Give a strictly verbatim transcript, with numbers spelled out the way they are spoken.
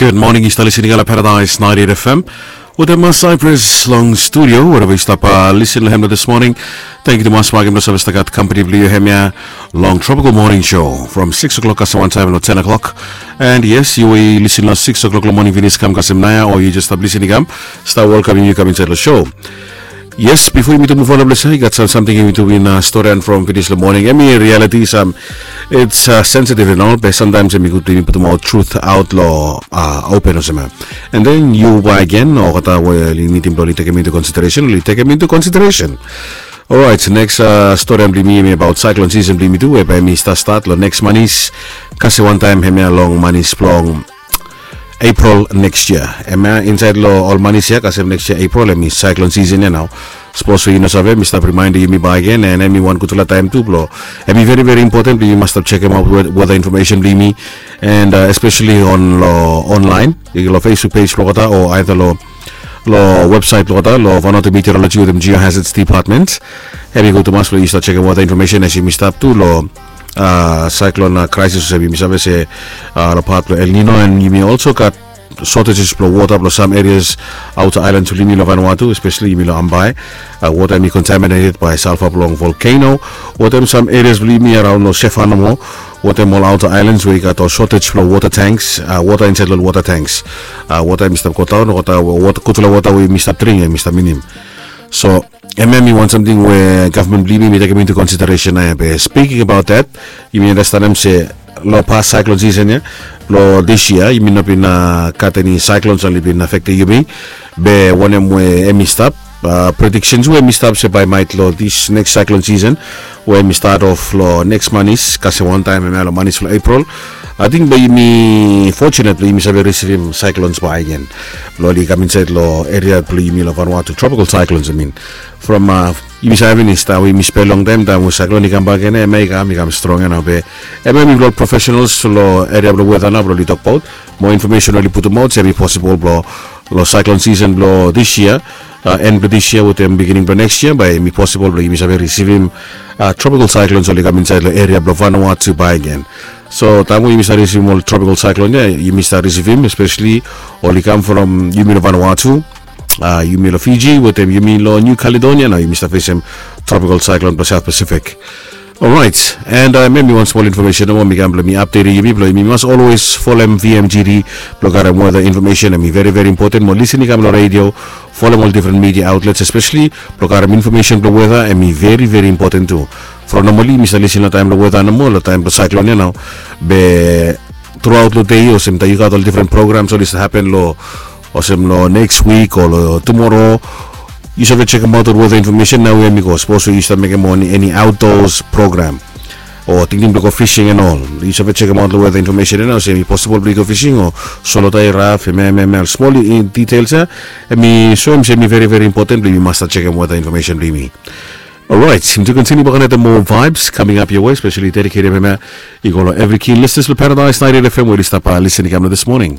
Gud moning, yu stap lisin i go long Paradise ninety-eight F M. Wetem Cyprus long studio, wherever yu stap lisin long hem long this morning. Thank you tumas, makim lo save stap gat company blong yu hemia long Tropical Morning Show from six o'clock kasem wantaem long ten o'clock. And yes, yu we yu lisin long six o'clock long moning finis kam kasem naoia, o yu just stap lisin i kam, stap welkamim yu kam insaed long show. Yes, bifo yumi tu muv on long ples ia, i gat sam samting yumi tu bin storian from finis long moning. Hemi reality, sam it's sensitive and all, be samtaems hemi gud blong yumi putumaot truth aot long open olsem ia. And then yu bae gen olgeta we oli nidim blong oli tekem into consideration, oli tekem into consideration. Orait, neks storian blong yumi hemi abaot cyclone season blong yumi tu, we bae hemi stap stat long neks manis, kasem wantaem hemia long manis blong April neks yia. Hemia insaed long ol manis ia kasem neks yia April hemi cyclone season ia nao. Sapos we yu no save, mi stap rimaendem yumi bae gen, and hemi wan gudfala taem tu blong, hemi veri veri impoten blong yumi mas stap jekemaot weather information blong yumi, and especially on long online, long Facebook page blong olgeta o aeda long long websaet blong olgeta long Vanuatu Meteorology wetem Geohazards Department. Hemi gud tumas blong yu stap jekem weather information as yumi stap tu long cyclone crisis, olsem yumi save se long pat blong El Nino, and yumi also gat shortages blong wota blong sam areas outer islands blong yumi long Vanuatu, especially yumi long Ambae. Wota hemi contaminated by sulfur blong volcano. Wetem sam areas blong yumi araon long Sefan nomo, wetem ol outer islands we i gat ol shortage blong water tanks, wota insaed long water tanks. Wota hemi stap godaon, wota, gudfala wota we yumi stap dring hemi stap minim. So hemia hemi wan samting we gavman blong yumi hemi tekem into consideration ia. Be speaking about that, yumi andastanem se long pas cyclone season ia, long this year yumi no bin gat eni cyclones oli bin affectem yumi. Be wanem we hemi stap, predictions we hemi stap se bae maet long this next cyclone season, we hemi start off long neks manis, kasem wantaem hemia long manis blong April, ating bae yumi fortunate blong yumi save risivim cyclones bae gen blong oli kam insaed long area blong yumi long Vanuatu, tropical cyclones, I mean. From yumi save finis taem we yumi spel longtaem, taem we cyclone i kambak gen ia, hemia i kam, i kam strong ia nao. Be hemia hemi blong ol professionals long area blong weather nao blong oli tokbaot. Moa information oli putumaot se hemi possible blong long cyclone season blong this year, en blong this year wetem beginning blong next year, bae hemi possible blong yumi save risivim tropical cyclones oli kam insaed long area blong Vanuatu bae gen. So taem we yumi stap risivim ol tropical cyclone ia, yumi stap risivim, especially oli kam from yumi long Vanuatu, yumi long Fiji wetem yumi long New Caledonia, nao yumi stap fesem tropical cyclone blong South Pacific. Orait, and hemia hemi wan smol information nomo mi kam blong mi updatem yumi blong yumi mas always folem V M G D blong karem weather information, hemi veri veri impoten mo lisin i kam long radio, folem ol different media outlets, especially blong karem information blong weather, hemi veri veri impoten tu. From normally mi stap lisin long taem blong weather nomo long taem blong cyclone ia nao. Be truaot long dei, olsem taem yu gat ol different programs oli stap hapen long, olsem long neks wik o long tumoro, yu save jekemaot ol weather information naoia hemi go. Sapos we yu stap mekem eni outdoors program o tingting blong go fishing and all, yu save jekemaot long weather information ia nao se hemi possible blong yu go fishing o solo tae raf, hemia hemia smol details ia, hemi soem se hemi veri veri impoten blong yumi mas stap jekem weather information blong yumi. Orait, yumi tu kontiniu bakegen wetem moa vibes coming up your way, especially dedicated hemia i go long evri keen listeners blong Paradise ninety-eight F M we oli stap lisin i kam long this morning.